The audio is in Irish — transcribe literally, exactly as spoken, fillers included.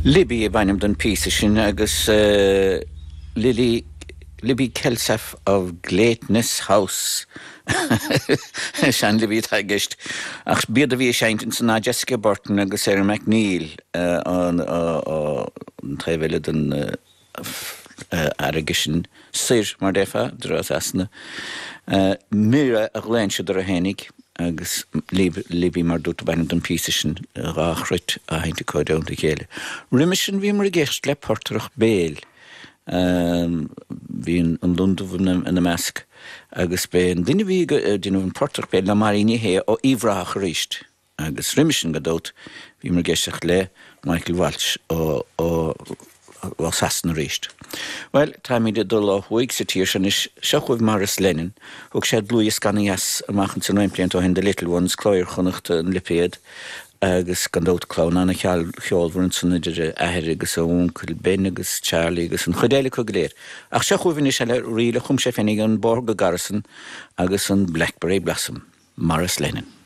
Libby ab ainm don phíosa sin agus uh, Lily Libby Kelsaf of Glaitness House. Sean Libby atá i gceist ach b'iad a bhí ag seinnt ansan ná Jessica Burton agus Sarah McNeil uh, an uh, an taobh eile den uh, fharraige sin soir mar déarfá trasna. Uh, Mira a ghlaonn siad orthu fhéinig agus Libby mar dúirt ab ainm don phíosa sin dhá chruit á sheinnt acu i dteannta a chéile. Roimhe sin bhíomar ag éisteacht le portaireacht béil. Bhí an Londubh ina measc agus b'é an duine bhí ag déanamh an portaireacht béil ná Máirín Ní Shé ó Uíbh Ráthach arís. Agus roimhe sin gan dabht bhíomar ag éisteacht le Michael Walsh ó ó ó Sasana arís. Well, táimid ag dul ó thuaidh sa tír sin anois seo chugaibh Maurice Lennon, thug sé dlúthdhiosca ana-dheas amach ansan roinnt blianta ó shin The Little Ones, Cló Iar-Chonnachta an lipéad, agus gan dabht clann an-cheolmhar ansan idir a athair agus a uncail Ben agus Charlie agus an chuid eile acu go léir. Ach seo chugaibh anois eile ríl a chum sé féinig an Bóthar go Garrison agus an Blackberry Blossom, Maurice Lennon.